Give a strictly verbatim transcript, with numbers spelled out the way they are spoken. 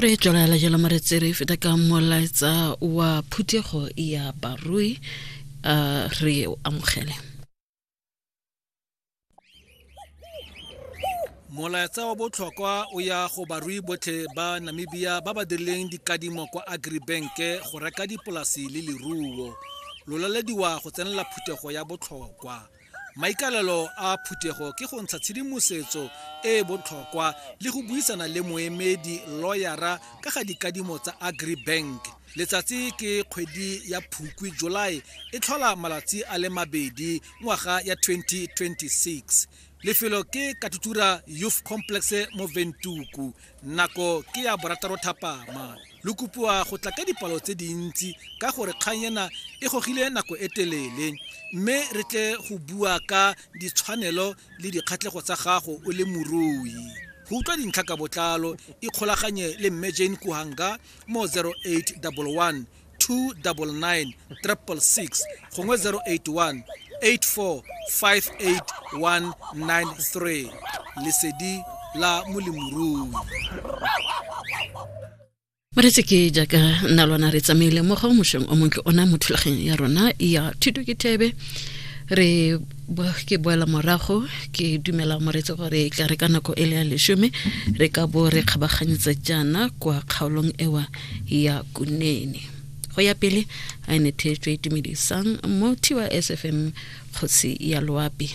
Re tswelela jalo moretsi, re feta ka molaetsa wa phuthego ya barui, uh, re o amogele. Molaetsa wa botlhokwa o ya go barui botlhe ba Namibia ba ba dirileng dikadimo kwa Agribank go reka dipolasi le leruo. Lo lalediwa go tsenela phuthego ya botlhokwa. Maikalelo a phuthego ke go ntsha tshedimosetso e e botlhokwa le go buisana le moemedi lawyera ka ga dikadimo tsa Agribank. Letsatsi ke kgwedi ya Phukwi, July, e tlhola malatsi a le mabedi ngwaga ya twenty twenty-six. Lefelo ke Katutura Youth Complex mo Ventuku. Nako ke ya borataro thapama. Lo kopiwa go tla ka dipalo tse dintsi ka gore kgang ena e gogile nako e telele, mme re tle go bua ka ditshwanelo le dikgatlhego tsa gago o le morui. Go utlwa dintlha ka botlalo, ikgolaganye le Mme Jane Kuhanga mo zero eight double one, two double nine, triple six gongwe zero eight one, eight four five eight one nine three. Lesedi la molemirui. Moretsi ke jaaka nna lona re tsamaile mo go mošong o montle ona mo thulaganyong ya rona ya thuto ke thebe. Re bo-, ke boela morago, ke dumela moretsi gore e tla re ka nako e le ya leshome re ka bo re kgabaganyetsa jaana kwa kgaolong ewa ya Kunene. Go ya pele a ne theetswe itumedisang mo T Y S F M kgosi ya loapi.